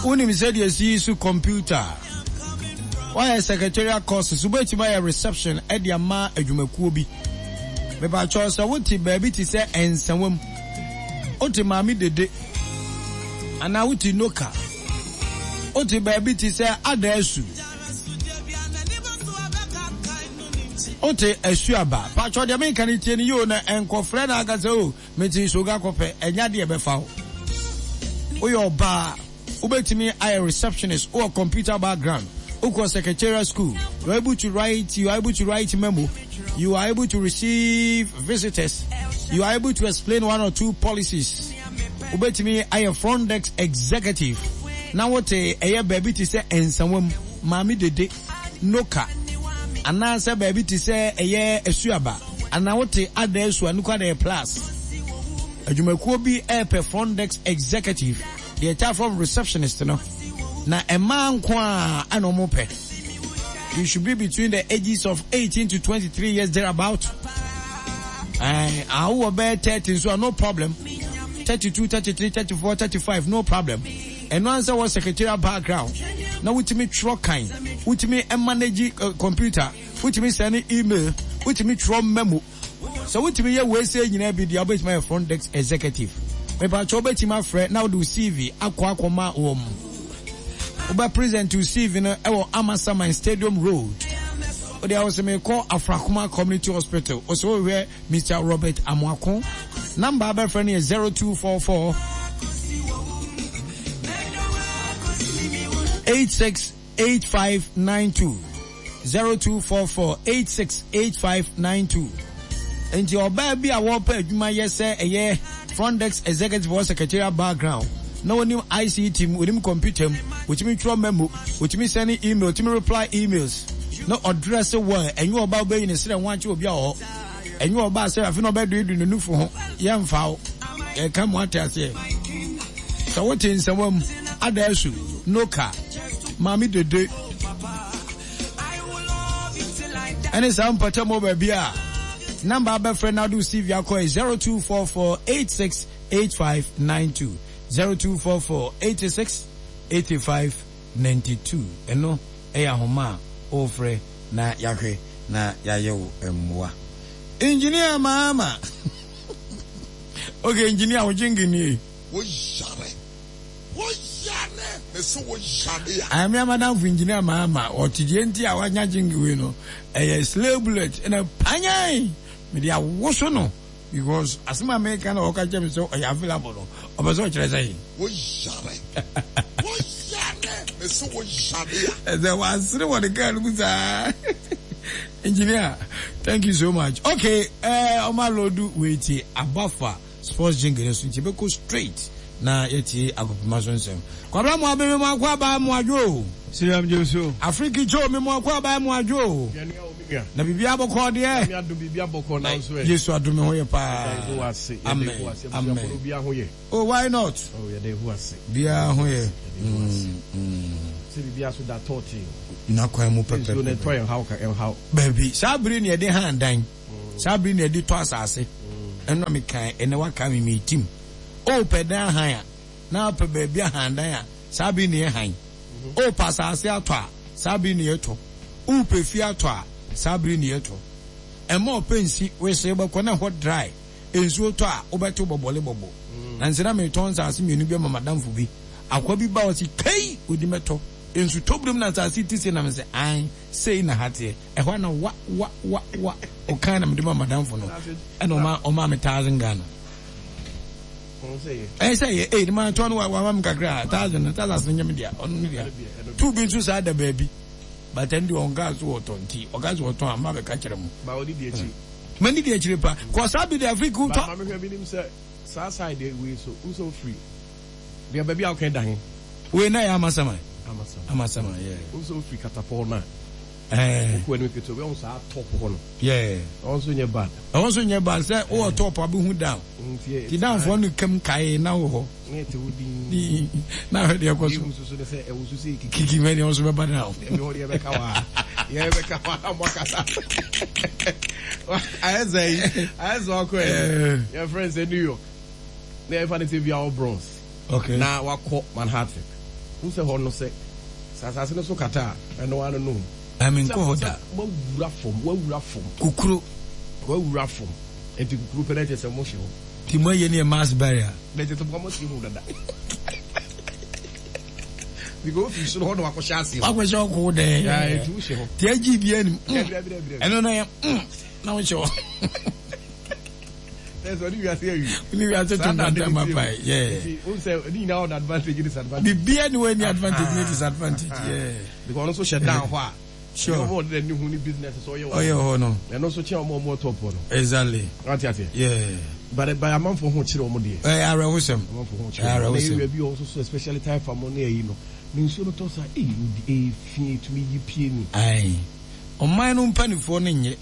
Wonim sɛdeɛ ɛsi yi so computer? Woayɛ secretarial courses, wobɛtumi ayɛ reception de ama adwumakuo bi. Mepakyɛw sɛ wote baabi te sɛ Nsawam, wote Maame Dede, anaa wote Noka, wote baabi te sɛ Adaasu, wote Asuaba. Pakyɛw deɛ menka no tie no yie o na nkɔfrɛ na aka sɛ o Mete Soga kɔpɛ, ɛnyɛ adeɛ ɛbɛfa wo. Woyɛ ɔbaa, wobɛtumi ayɛ receptionist, wowɔ computer background, wokɔ secretarial school, you are able to write, you are able to write memo, you are able to receive visitors, you are able to explain one or two policies. Wobɛtumi ayɛ front desk executive, na wote ɛyɛ baabi te sɛ Nsawam, Maame Dede, Noka, anaasɛ baabi te sɛ ɛyɛ Asuaba. Anaa wote ada asu a nukwa dɛ plus. Adwumakuo bi repɛ front desk executive, deɛ ɛtaa from receptionist no. Na mmaa nko ara na wɔn pɛ. You should be between the ages of 18 to 23 years thereabout. Eh, awowɔ bɛyɛ 30 nso a no problem. 32, 33, 34, 35 no problem. Ɛno ansa wɔ secretarial background na wotumi twerɛ kan, wotumi manage computer. Wotumi sɛne email, wotumi twerɛ memo. Sɛ wotumi yɛ wei sei nyinaa bi deɛ wobɛtumi ayɛ front desk executive. Mepakyɛ wobɛtumi afrɛ na wode wo CV akɔ akɔma wɔn. Wobɛ present wo CV no ɛwɔ Amasaman Stadium Road. Wode a wosɛ mekɔ Afrakoma Community Hospital. Wosɛ wohwɛ Mr. Robert Amoako. Number abɛfrɛ no yɛ 0244 86 8592 0244 86 8592 Nti ɔbaa bi a wɔpɛ adwuma yɛ sɛ ɛyɛ front desk executive or secretarial background na onim ICT mu, onim computer mu, otumi twerɛ memo, otumi send email, otumi reply emails na ɔdrɛse well, ɛnyɛ ɔbaa wobɛyi ne serɛ ho akyerɛ obi a ɔwɔ hɔ. Ɛnyɛ ɔbaa sɛ afei na ɔbɛduedue ne nufu ho. Yɛmfa wo. Yɛka mu ate aseɛ. Sɛ wote nsɛmwa mu, ada asu, noka, maame dede, ɛne saa mpɔtam wɔ baabi a, namba abɛfrɛ na wode wo CV akɔ yɛ 0244 86 8592 0244 86 8592 ɛno ɛyɛ ahoma a wofrɛ na yɛahwɛ na yɛayɛ wo mmoa. Engineer Mahama okay engineer wo jingle nie. Wo yare wo yare me se wo yare a. Ayame amadamfo engineer Mahama ɔte deɛ nti a wanya jingle wei no ɛyɛ slay bullet ɛna panyan mede awoso no. Because asem a meka na ɔka kyerɛ me sɛ ɔyɛ available no, ɔpɛ sɛ ɔkyerɛ sɛn? Wo yare, wo yare, me se wo yare a. Ɛsɛ wasere wɔ ne car no mu saa. Engineer, thank you so much. Okay, eh, ɔma load wei tie Abafa sports jingle no so nti yɛbɛkɔ straight na yɛtie agopema so nsɛm. Kwabena mo abeme mo akɔ aba mo adwo o. Siriam Joso. Afriki Joe me mo akɔ aba mo adwo o. Na biribiara bɔkɔɔ deɛ. Nyame adom biribiara bɔkɔɔ nanso ɛ. Yesu adom me ho yɛ paa. Yɛda Yehowa ase. Yɛda Amen. Yehowa ase. Amen. Abusuafo no obiara ho yɛ. Oh why not? Oh yɛda Yehowa ase. Biara ho yɛ. Yɛda Yehowa ase. Sɛ biribiara so da tɔɔtee. N'akwan mu pɛpɛpɛ. Nsuo no ɛtɔ ɛnhaw ka ɛnhaw. Baabi. Saa bere na yɛde han dan. Saa bere na yɛde tɔ asase. Ɛno na mekan ɛnɛ waka me metim. Oh pɛ dan han a na pɛ baabi ahan dan a saa bere na yɛ han. Oh pɛ asase atɔ a saa bere na yɛtɔ. Wopɛ fie atɔ a, saa bere ni yɛtɔ. Ɛmma ɔpɛ nsi wesee wobɛkɔ na ɛhɔ dry. Nsuo tɔ a, wobɛte bɔbɔle bɔbɔ. Nansa na meretɔn nsaase mmienu bi ama m'adamfo bi. Akoa bi ba ɔse, Kei! Odi mɛtɔ. Nsu tɔ binom na nsaase yi te sei na mese, Ae, sei na ha teɛ. Ɛhɔ ara na wa wa wa wa ɔkae na mede maa m'adamfo no. Ɛna ɔma ɔmaa me thousand Ghana. Ɛyɛ sɛ yɛ, ei, ne ma tɔn no wa wama me kakra, thousand no, thousand no nyɛ me dea, ɔno ne dea. Tu bi nso saa da baabi. But ɛno deɛ ɔnkaa so ɔtɔ nti ɔka sɛ ɔtɔn a mma bɛka kyerɛ mo. Ba ɔdi di akyi. Mani di akyire pa. Kɔ saa bi de Afrika wotɔ. Ba maame hwɛ minim sɛ saa side wei so wosɛ ofiri deɛ baabi a ɔka da he. Wei na yɛ Amasaman. Amasaman. Amasaman yeah. Wosɛ ofiri Katapɔn na. Ɛɛ. Wokɔ anim ketewa bi ɔho saa top hɔ no. Yeah. Ɛhɔ nso nyɛ bad. Ɛhɔ nso nyɛ bad sɛ wowɔ top a bɛhu down. Ti down foɔ no kam kae na wɔ hɔ. Na ɛte wo din. Na ahwɛ deɛ ɛkɔ so. Deɛ ehu soso ne sɛ ɛwɔ so sɛ kiki. Kiki mɛ deɛ ɔnso bɛba down. Ɛbi hɔ deɛ bɛka wa. Yɛ bɛka wa na mo akasa. Ayɛ sɛ yi ayɛ sɛ ɔkɔ yɛ. Yɛ friend sɛ New York. Na yɛ fa ne sɛ bi awɔ Bronx. Okay. Na wakɔ Manhattan. Wohu sɛ hɔ no sɛ sɛ asase no so kata a, ɛno ara no no. Ɛɛ menkɔ hɔ da. Woawura fam, woawura fam. Kukuro. Woawura fam. Nti kukuro pɛ na kyerɛ sɛ mohyɛ hɔ. Nti moayɛ ne yɛ mass burial. Na kyerɛ sɛ moasie ho dada. Because wofi soro hɔ na wakɔhyɛ aseɛ. Wakɔhyɛ ɔko dɛɛ. Yeah, nti wohyɛ hɔ. Nti agye bi anim. Ɛno na yɛ na wohyɛ hɔ. Ɛsɛ ɔne wiase awie. Ɔne wiase to nkwanta ma pae. Yeah. Nti wohu sɛ ne nyinaa ɔda advantage ne disadvantage. Biribiara ni wɔ ni advantage ne disadvantage. Yeah. Because ɔno nso hyɛ down hɔ a. Sure. Ɔmo ɔde n'ani hu ne business sɛ ɔyɛ wɔ. Ɔyɛ hɔ no. Ɛno nso kyɛn ɔmo ɔmo top hɔ no. Exactly. Wate aseɛ? Yeah. But but amanfoɔ ho kyerɛ ɔmo deɛ. Ɛyɛ awerɛhosɛm. Amanfoɔ ho kyerɛ ɔmo. Ɛyɛ awerɛhosɛm. Na area bi wɔ hɔ nso so especially Taifa mo ne ayi no. Ne nsuo no tɔ saa eyi odi efi etumi yi pie ni. Ayi. Ɔman no mpanifoɔ no nyɛ.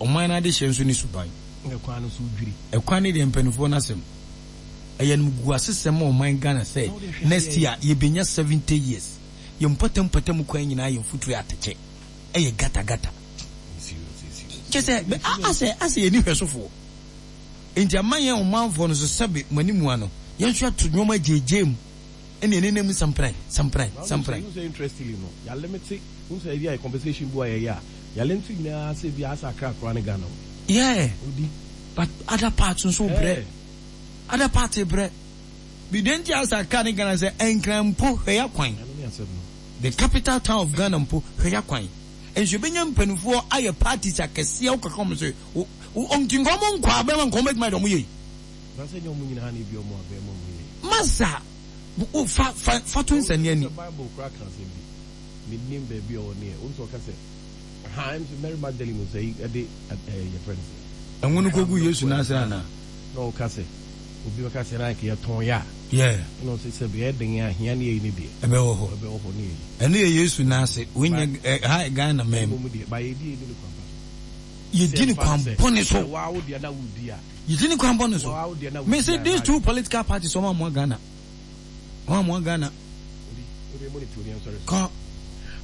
Ɔman no adehyeɛ nso ne suban. Ɛkwan no so dwiri. Ɛkwan no deɛ mpanifoɔ no asɛm. Ɛyɛ animguasesɛm ma ɔman Ghana sɛ next year yɛbɛnya 70 years. Yɛn mpɔtam mpɔtam kwan nyinaa yɛ mfuturo atɛkyɛ. Ɛyɛ gata gata. Kyɛ sɛ asɛ asɛ yɛnni hwɛsofoɔ. Enti ama yɛn ɔmanfoɔ no nso sɛbe mo anim ano yɛn nso yɛato nnoɔma gyeegyee mu ɛne yɛn nenam mu sampran sampran sampran. Wohu sɛ interestingly no yɛalimite wohu sɛ ebi a compensation bi wɔ a yɛyɛ a yɛalimite nyinaa sɛ ebi a asɛ Accra koraa ne Ghana o. Yeah Odi. But other parts nso brɛ. Other parts brɛ. Bi deɛ nti a asɛ Accra ne Ghana sɛ Nkran mpo hwɛ ya kwan. Ɛno ne asɛm no. The capital town of Ghana mpo hwɛ ya kwan. Nso yɛbɛnya mpaninfoɔ ayɛ parties akɛseɛ wokaka wɔn sɛ wo nti nka wɔn nkɔ abɛn mu a nka wɔn bɛtumi ayɛ deɛ wɔn yɛ yi. Na sɛ nyɛ wɔn nyinaa na ebi wɔn abɛn mu a wɔn yɛ yi. Masa wo fa fa fa to nsania ni. Sɛ bible koraa ka asɛm bi mennim baabi a ɔwɔ neɛ wohu sɛ ɔka sɛ ha ɛm sɛ Mary Magdalene sɛ yi ɛde ɛɛ yɛfrɛ no sɛ. Ɛnwo no kɔgu Yesu nan ase anaa? Na ɔka sɛ obi bɛka sɛ na anka yɛtɔn yɛ a. Yeah. Ɛna ɔsɛ sɛ bɛyɛ den a hia ne yɛyi ne deɛ. Ɛbɛwɔ hɔ. Ɛbɛwɔ hɔ ne yɛyi. Ɛno yɛ Yesu nan ase. Wei nyɛ ɛ ha yɛ Ghana man mu. Mmom deɛ ba yɛdi yɛdi no kwan pa so. Yɛdi no kwan bɔne so. Sɛ waa wo deɛ na wodi a. Yɛdi no kwan bɔne so. Me se these two political parties wɔn amoa Ghana. Wɔn amoa Ghana. Kɔ.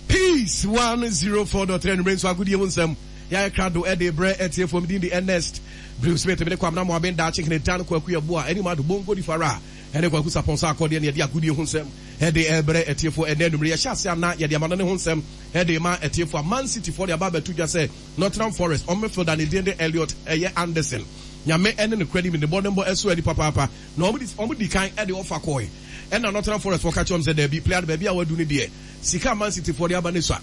Peace 104.3 anwummere nso agodie ho nsɛm yɛayɛ krado de brɛ atiefoɔ. Me din de Ernest Bruce Smith, me ne Kwabena Moaben Daakye Hene Dan Kwaku Yeboah ɛne Madu Bongo Di Fara ɛne Kwaku Sapon Sarkodie ne yɛde agodie ho nsɛm de rebrɛ atiefoɔ ɛnnɛ anwummere. Yɛhyɛ ase ana yɛde amano ne ho nsɛm de ma atiefoɔ a Man City foɔ de aba abɛto dwa sɛ Nottingham Forest wɔn midfielder ne din de Elliot ɛyɛ Anderson. Nyame ɛne nokorɛ nim ne bɔnenbɔ ɛso ani papaapa na wɔn di kan de ɔfa kɔɔe ɛna Nottingham Forest foɔ ka kyerɛ wɔn sɛ daabi player no baabi a wadu no deɛ sika a Man City foɔ de aba no sua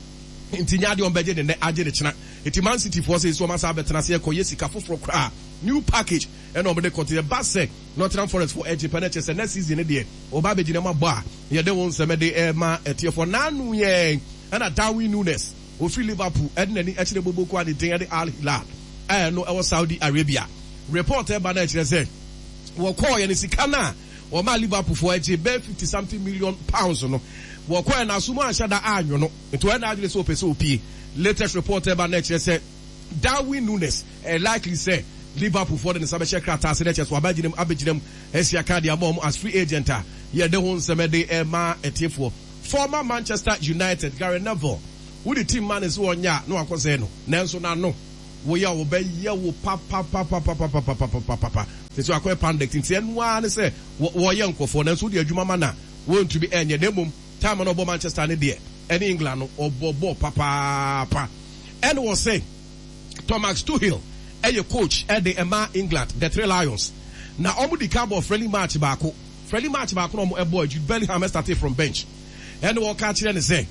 nti nyɛ adeɛ wɔn bɛgye ne nnɛ agye ne kyena. Nti Man City foɔ sei nso wɔn asan abɛtena ase ɛkɔ yɛ sika foforɔ koraa new package ɛna wɔn de kɔ nti ɛba sɛ Nottingham Forest foɔ ɛgye pɛ na ɛkyerɛ sɛ next season no deɛ wɔba abɛgyina mu abɔ a yɛde wɔn nsɛm ɛde ɛma ɛtiefoɔ. Naanu yɛn ɛna Darwin Nunes ofiri Liverpool ɛde n'ani ɛkyerɛ Boboko a ne din ɛde Al Hilal a ɛno ɛwɔ Saudi Arabia. Report ɛba na ɛkyerɛ sɛ wɔkɔɔ yɛ no sika no a wɔmaa Liverpool foɔ ɛgye bɛyɛ 50 something million pounds no wɔkɔɔ yɛ no aso mu anhyɛ da anwono. Nti ɔyɛ n'adwene sɛ ɔpɛ sɛ opie. Latest report ɛba no ɛkyerɛ sɛ Darwin Nunes ɛyɛ likely sɛ Liverpool foɔ de ne nsa bɛhyɛ krataa ase na ɛkyerɛ sɛ waba agyina mu abɛgyina mu asi akan de ama wɔn as free agent a yɛde ho nsɛm ɛde ɛma atiefoɔ. Former Manchester United Gary Neville wode team ma no sɛ ɔnyɛ a na wakɔsɛe no nanso n'ano woyɛ a wɔbɛyɛ wo papapapapapapapapapa te sɛ wakɔyɛ pandit nti ɛno ara ne sɛ wɔyɛ nkurɔfoɔ nanso wode adwuma ma no a wɔntumi ɛnyɛ na mmom Time a na ɔbɔ Manchester no deɛ ɛne England no ɔbɔ bɔɔl papaapa. Ɛna ɔse Thomas Tuchel ɛyɛ coach ɛde ɛma England, the Three Lions. Na ɔmo di kan bɔɔ friendly match baako. Friendly match baako na ɔmo ɛbɔɔ Jude Bellingham ɛstartee from bench. Ɛna ɔka kyerɛ no sɛ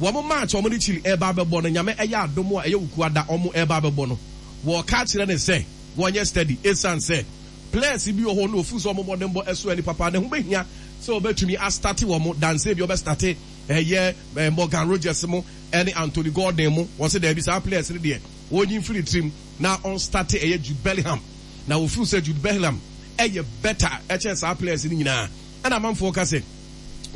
wɔn match a ɔmo ne Chile ɛɛba abɛbɔ no Nyame ɛyɛ adom a ɛyɛ Wukuada ɔmo ɛɛba abɛbɔ no wɔka kyerɛ no sɛ wɔnyɛ steady esiane sɛ Players bi wɔ hɔ no ofeel sɛ wɔn mmɔdenbɔ ɛso ani papa na ɛho bɛhia sɛ wɔbɛtumi astarte wɔn than sɛ ebia wɔbɛstarte ɛyɛ Morgan Rogers mo ɛne Anthony Gordon mo. Wɔse daabi saa players no deɛ wɔnyi mfiri ne tirim na ɔnstarte ɛyɛ Jude Bellingham na wɔfeel sɛ Jude Bellingham ɛyɛ better ɛkyɛn saa players no nyinaa. Ɛna amanfoɔ ka sɛ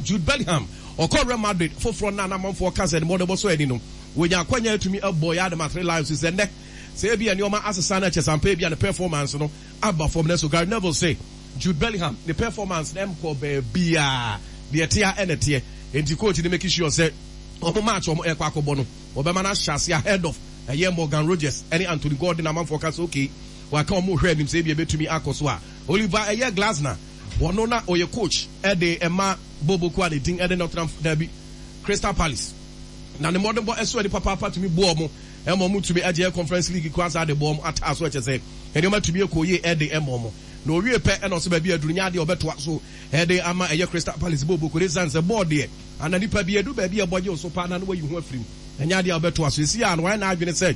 Jude Bellingham ɔkɔ Real Madrid foforɔ no a na amanfoɔ ka sɛ ne mmɔdenbɔ so ani no wɔnya akwanya atumi abɔ yɛ adema Three Lions sɛ nnɛ sɛ ebia nneɛma asesa no ɛkyɛ sɛ ampa ebia ne performance no aba fam. Nanso Gary Neville se Jude Bellingham ne performance no nkɔɔ baabiara, deɛ ɛteɛ ara na ɛteɛ. Enti coach no make sure sɛ wɔn match a wɔrekɔ akɔbɔ no, wɔbɛma no ahyɛ aseɛ ahead of ɛyɛ Morgan Rogers ne Anthony Gordon. Amanfoɔ ka sɛ okay, wɔaka wɔn rehwɛ anim sɛ ebia ɛbɛtumi akɔ so a. Oliver ɛyɛ Glasner, ɔno na ɔyɛ coach de ma. bɔɔlbɔ kuo a ne din de Nottingham, daabi, Crystal Palace. Na ne mmɔdenbɔ so ani papaapa tumi boa wɔn ma wɔtumi gye Conference League koraa saa de bɔ wɔn ataa so, kyerɛ sɛ nneɛma tumi kɔ yie de ma wɔn. Na owie pɛ na ɔsɛ baabi a aduru nyɛ adeɛ a ɔbɛtoa so de ama ɛyɛ Crystal Palace bɔɔlbɔ kuo no esiane sɛ bɔɔl deɛ ana nipa bi adu baabi a ɛbɔ gye wo so paa na na wayi ho afiri mu, ɛnyɛ adeɛ a ɔbɛtoa so. Seesei ara no wayɛ n'adwene sɛ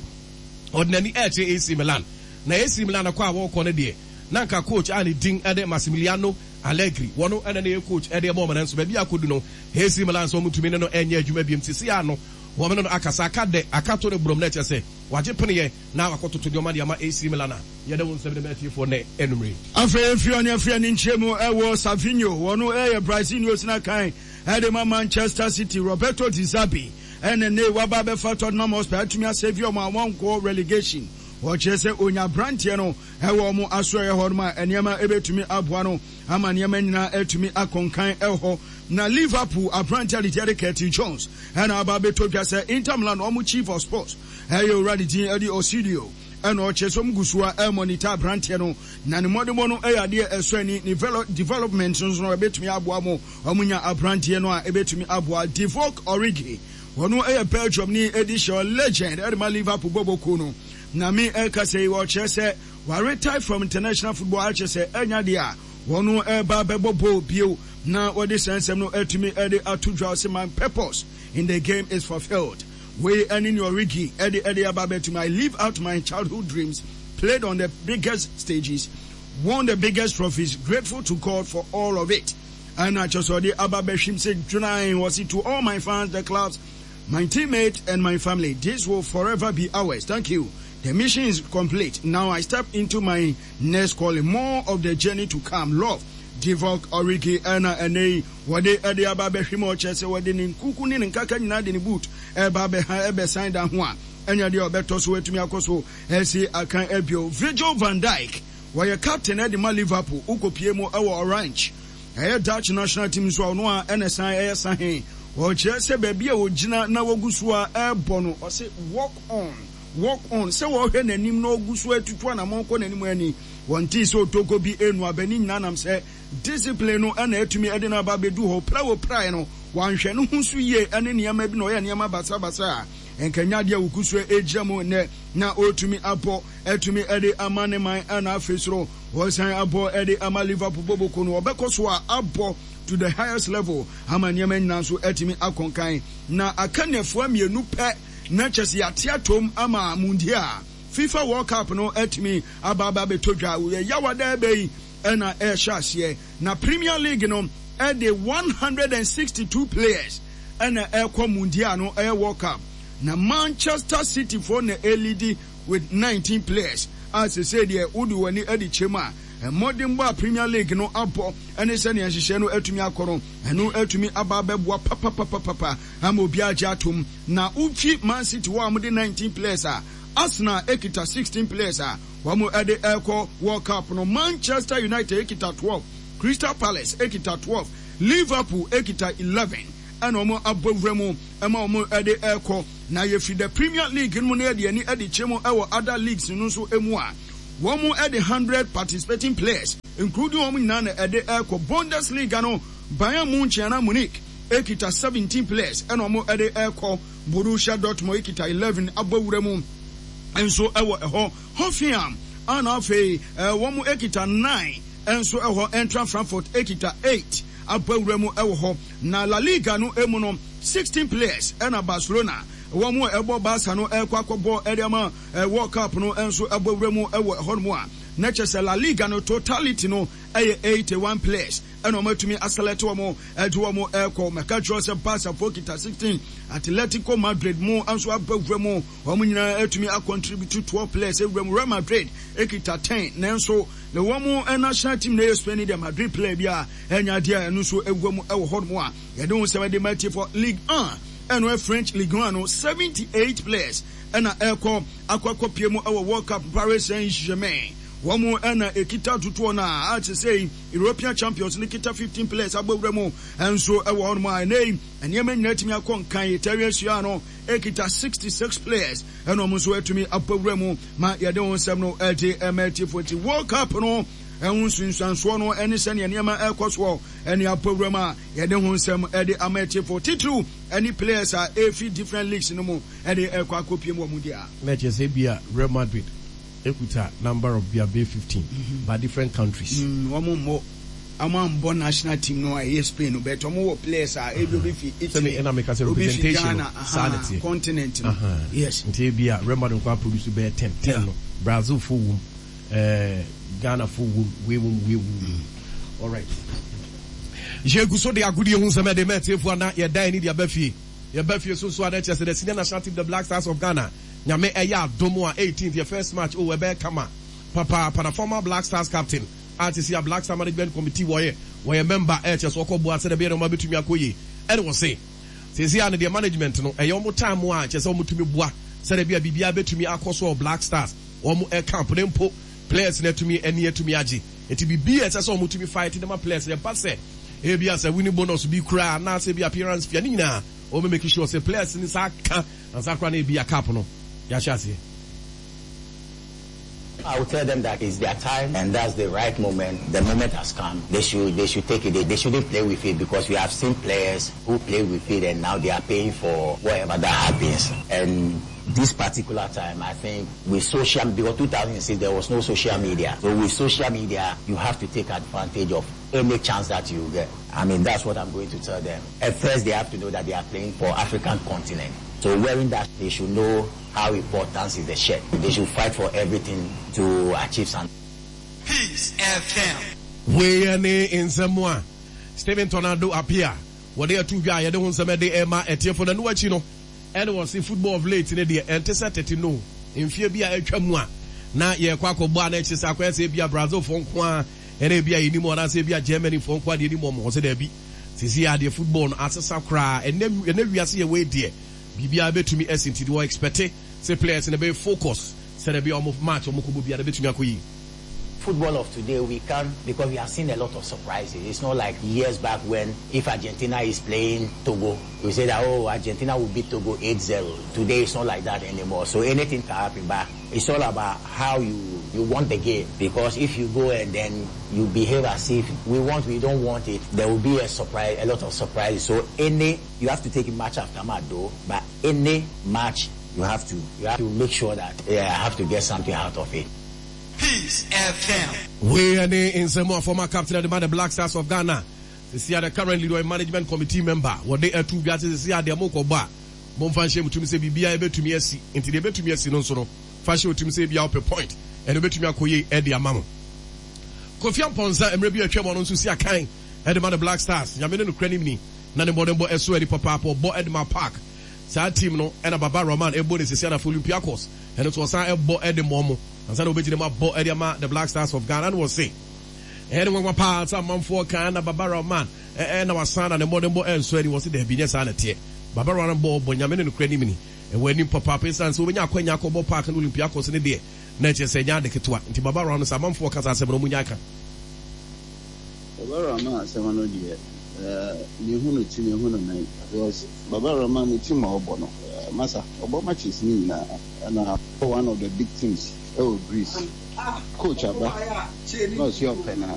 ɔde n'ani rekyerɛ AC Milan. Na AC Milan kɔ a wɔrekɔ no deɛ, na anka coach a ne din de Massimiliano Allegri, wɔno na na ɛyɛ coach de ma wɔn, nanso baabi a akɔdu no, AC Milan sɛ wɔntumi ne no nyɛ adwuma biom. Seesei ara no, wɔne no akasa, aka dɛ, aka to no borɔm, na ɛkyerɛ sɛ wagye peneɛ na wakɔtoto nneɛma de ama AC Milan a yɛde wo nsɛm de ma atiefoɔ nnɛ anwummere yi. Afei efi ɔne afiri ani nkyerɛ mu wɔ Savinho, wɔno yɛ Brazil ni osina kan de ma Manchester City, Roberto De Zerbi ɛna nnɛ yi waba abɛfa Tottenham Hotspur atumi asave wɔn a wɔnkɔ relegation. Wɔkyerɛ sɛ onya abranteɛ no wɔ wɔn asoɛeɛ hɔ nom a nneɛma bɛtumi aboa no ama nneɛma nyinaa atumi akɔ nkan wɔ hɔ. Na Liverpool abranteɛ a ne din de Curtis Jones ɛna aba abɛtɔ dwa sɛ Inter Milan wɔn chief of sports ɛyɛ owura ne din de Ausilio ɛna ɔkyerɛ sɛ wɔn gu so a ɛremonita abranteɛ no na ne mmɔdemmɔ no yɛ adeɛ ɛsɔ ani, ne development nso no ɛbɛtumi aboa mo wɔn nya abranteɛ no a ɛbɛtumi aboa. Divock Origi wɔn yɛ Belgium ni ɛdi hyɛ legend ɛde ma Liverpool bɔbɔ kuo no. Na me ɛkasa yi ɔkyerɛ sɛ wa retire from international football akyerɛ sɛ ɛnya deɛ a wɔn ɛreba abɛbɔ bɔɔl bio na wɔde saa nsɛm no atumi ɛde ato dwa. Ɔse my purpose in the game is fulfilled. Wei ɛne nea Origi ɛde ɛde aba abɛtumi. I live out my childhood dreams, played on the biggest stages, won the biggest trophies, grateful to God for all of it. Ɛna kyerɛ sɛ ɔde aba abɛhwim sɛ dwunae. Ɔse to all my fans, the clubs, my teammate and my family, this will forever be ours. Thank you. The mission is complete. Now I step into my next calling. More of the journey to come. Love, Divock Origi. Ɛna ɛnɛ yi wɔde ɛde aba abɛhwim ɔkyerɛ sɛ wɔde ne nkuku ne ne nkaka nyinaa de ne boot ɛba abɛha ɛbɛsan da ho a ɛnyɛ deɛ ɔbɛtɔ so atumi akɔ so ɛsi akan abio. Virgil van Dijk wɔyɛ captain ɛde ma Liverpool wokɔpie mu ɛwɔ Orange. Ɛyɛ Dutch national team nso a ɔno a ɛna san ɛyɛ sahe. Ɔkyerɛ sɛ baabi a ɔgyina na wɔgu so a ɛrebɔ no, ɔse walk on, walk on. Sɛ wɔhwɛ n'anim na ɔgu so atutu anamɔn kɔ n'anim ani, wɔntee sɛ otoko bi renu aba. Ne nyinaa nam sɛ discipline no na atumi de no aba abɛdu hɔ. Ɔpira a ɔpiraeɛ no, wanhwɛ ne ho so yie ne nneɛma bi na ɔyɛ nneɛma basabasa a nka ɛnyɛ adeɛ a ɔgu so gyina mu nnɛ na ɔretumi abɔ atumi de ama ne man na afei soro ɔresan abɔ de ama Liverpool bɔbɔkuo no. Ɔbɛkɔ so a abɔ to the highest level ama nneɛma nyinaa nso atumi akɔ nkan. Na aka nnafua mmienu pɛ na kyɛ sɛ yɛate atom ama Mundial, FIFA World Cup no atumi aba aba abɛtɔ dwa. Yawada ɛbɛ yi na ɛrehyɛ aseɛ. Na Premier League no de 162 players na ɛrekɔ Mundial no, ɛyɛ World Cup. Na Manchester City foɔ na ɛreleadi with 19 players a sesei deɛ wode w'ani adi kyɛm a, mmɔdenbɔ a Premier League no abɔ ne sɛnea nhyehyɛe no atumi akɔ no, ɛno atumi aba abɛboa papapapapa ama obiara agye atom. Na wofi Man City hɔ a wɔde 19 players a, Arsenal kita 16 players a wɔde rekɔ World Cup no, Manchester United kita 12, Crystal Palace kita 12, Liverpool kita 11 ɛna wɔn abɔ wura mu ma wɔde rekɔ. Na yɛfiri the Premier League no mu na yɛde ani de kyerɛ mu wɔ other leagues no nso mu a, wɔde 100 participating players including wɔn nyinaa na ɛde rekɔ. Bundesliga no, Bayern Munchen anaa Munich kita 17 players ɛna wɔde rekɔ. Borussia Dortmund kita 11 abɔ wura mu nso wɔ ɛhɔ. Hoffenheim a na afei wɔn kita 9 nso wɔ hɔ. Eintracht Frankfurt kita 8 abɔ wura mu wɔ hɔ. Na La Liga no mu no, 16 players na Barcelona wɔn a ɛbɔ Barca no rekɔ akɔbɔ de ama World Cup no nso abɔ wura mu wɔ ɛhɔnom a na kyerɛ sɛ La Liga no totality no yɛ 81 players na wɔatumi aselect wɔn de wɔn rekɔ. Mɛka kyerɛ sɛ Barca foɔ kita 16, Atletico Madrid mo nso aba wura mu, wɔn nyinaa atumi acontribute 12 players wura mu. Real Madrid kita 10 nanso na wɔn national team na ɛyɛ Spain deɛ Madrid player bi a ɛnyɛ adeɛ a ɛno nso ɛwura mu wɔ hɔnom a yɛde ho nsɛm de ma atiefoɔ. Ligue 1 ɛno ɛ French Ligue 1 no 78 players ɛna ɛkɔ akɔ akɔpie mu ɛwɔ World Cup. Paris Saint-Germain wɔn ɛna ɛkita totoɔ no a te sɛ European Champions no kita 15 players abɔ wura mu nso ɛwɔ hɔnom a ɛnɛ yi nneɛma nyinaa atumi akɔ nkan. Italian Serie A no ɛkita 66 players ɛna wɔn nso atumi abɔ wura mu ma yɛde ho nsɛm no ɛde ɛma atiefoɔ. Nti World Cup no Ɛho nsunsuansoɔ no ne sɛdeɛ nneɛma rekɔ soɔ ne apɔwuram a yɛde ho nsɛm de ama atiefo, titiriw ne players a ɛrefi different leagues no mu de rekɔ akɔpiem wɔ mu deɛ. Na kyerɛ sɛ ebia Real Madrid kuta number of bia bɛyɛ 15 but different countries. Wɔn mmɔ, wɔn ambɔ national team no a ɛyɛ Spain no but wɔn wɔ players a ebi obi fi Italy, Sɛmi ɛna meka sɛ obi fi representation no Ghana, saa na ahaa, ɛteɛ. continent no, Ahaa, yes. Nti ebia Real Madrid nko ara produce bɛyɛ 10, 10 Yeah. no Brazil foɔ wom, eh, Ghana foɔ wom, wei wom, wei wom, wei wom. Alright. Yɛgu so de agodie ho nsɛm ɛde ma atiefoɔ a na yɛda ani de aba fie. Yɛba fie so nso a na ɛkyerɛ sɛ the senior national team the Black Stars of Ghana Nyame ɛyɛ adom a 18th yɛ first match oh ɛbɛyɛ kama papaapa na former Black Stars captain a sisi a Black Star Management Committee wɔyɛ wɔyɛ member ɛkyerɛ sɛ ɔkɔ boa sɛdeɛ ɛbɛyɛ nneɛma bɛtumi akɔ yie ɛne wɔse sisi a no deɛ management no ɛyɛ wɔn time a kyerɛ sɛ wɔtumi boa sɛdeɛ ɛbɛyɛ a biribiara bɛtumi akɔ so wɔ Black Stars wɔn camp no mpo players no atumi ani atumi agye nti biribi a ɛsɛ sɛ wɔtumi fight de ma players no ɛba sɛ ebi a sɛ winning bonus bi koraa anaasɛ ebi appearance fee a ne nyinaa wɔn bɛ make sure sɛ players no nsa aka ansa koraa na ebi a cup no yɛahyɛ aseɛ. I will tell them that it's their time and that's the right moment. The moment has come. They should they should take it. They, they shouldn't play with it because we have seen players who play with it and now they are paying for whatever that happens. And this particular time, I think with social, because 2006 there was no social media. So with social media, you have to take advantage of any chance that you get. I mean, that's what I'm going to tell them. At first, they have to know that they are playing for African continent. So wearing that, they should know how important is the shirt. They should fight for everything to achieve something. Peace FM. Wei ne nsɛm a Stephen Tornado Appiah wɔde ato dwa a yɛde ho nsɛm de rema atiefo. Na ɛno akyi no, ɛna wɔse football of late no deɛ ɛnte sɛ tete no. Mfeɛ bi a atwa mu a na yɛrekɔ akɔbɔ a na ɛkyerɛ sɛ akɔyɛ sɛ ebia Brazilfoɔ nko ara ɛna ebia yɛnim wɔn anaasɛ ebia Germanyfoɔ nko ara deɛ yɛnim wɔn. Wɔse daabi, seesei ara deɛ football no asesa koraa. Ɛnnɛ ɛnnɛ wiase yɛwɔ yi deɛ biribiara bɛtumi asi nti deɛ wɔ expect sɛ players no bɛyɛ focus sɛdeɛ ɛbɛyɛ a wɔn match a wɔkɔbɔ biara bɛtumi akɔ yie. Football of today we can because we have seen a lot of surprises. It's not like years back when if Argentina is playing Togo, we say that oh Argentina will beat Togo 8-0. Today it's not like that anymore. So anything can happen, but it's all about how you you want the game. Because if you go and then you behave as if we want, we don't want it, there will be a surprise, a lot of surprises. So any you have to take match after match though, but any match you have to you have to make sure that yeah, I have to get something out of it. Peace FM. Wei ne nsɛm a former captain de ma the Black Stars of Ghana sisi a the currently ɔyɛ management committee member wɔde ato dwa sɛ sisi a deɛ mokɔbɔ a momfa nhyɛ mo tirim sɛ biribiara ɛbɛtumi asi nti deɛ ɛbɛtumi asi no nso no fa hyɛ wo tirim sɛ ebia wopɛ point ɛno ɛbɛtumi akɔ yie ɛde ama mo. Kofi Amponsah mmerɛ bi a atwam ɔno nso si akan ɛde ma the Black Stars Nyame ne nokorɛ nim ni na ne mmɔdenbɔ ɛso ani papaapa ɔbɔ ɛde ma Park saa team no ɛna Baba Rahman ɛbɔ ne sisi anafo Olympiacos ɛno nso ɔsan ɛbɔ ɛde ma ɔmo Ansa na wɔbɛgyina mu abɔ de ama The Black Stars of Ghana no wɔse, Ɛyɛ ne nwanwa paa sɛ amanfoɔ ka na Baba Rahman na wasan na ne mmɔdenbɔ ɛnsɔ ani. Wɔse daabi, nyɛ saa na ɛteɛ. Baba Rahman bɔ ɔbɔ Nyame ne nokorɛ nim ni. Ɛwɔ anim papaapa ɛsiane sɛ wɔbɛnya akwanya akɔbɔ Park ne Olympiacos no deɛ na ɛkyerɛ sɛ ɛnyɛ ade ketewa. Nti Baba Rahman sɛ amanfoɔ ka saa asɛm no wɔnnya ka. Baba Rahman asɛm no deɛ mehu no ti mehu no nan because Baba Rahman ne team a ɔbɔ no masa ɔbɔ matches ne nyinaa ɛna ɔbɔ one of the big teams ɛwɔ Greece coach aba na ɔsi ɔpɛ na.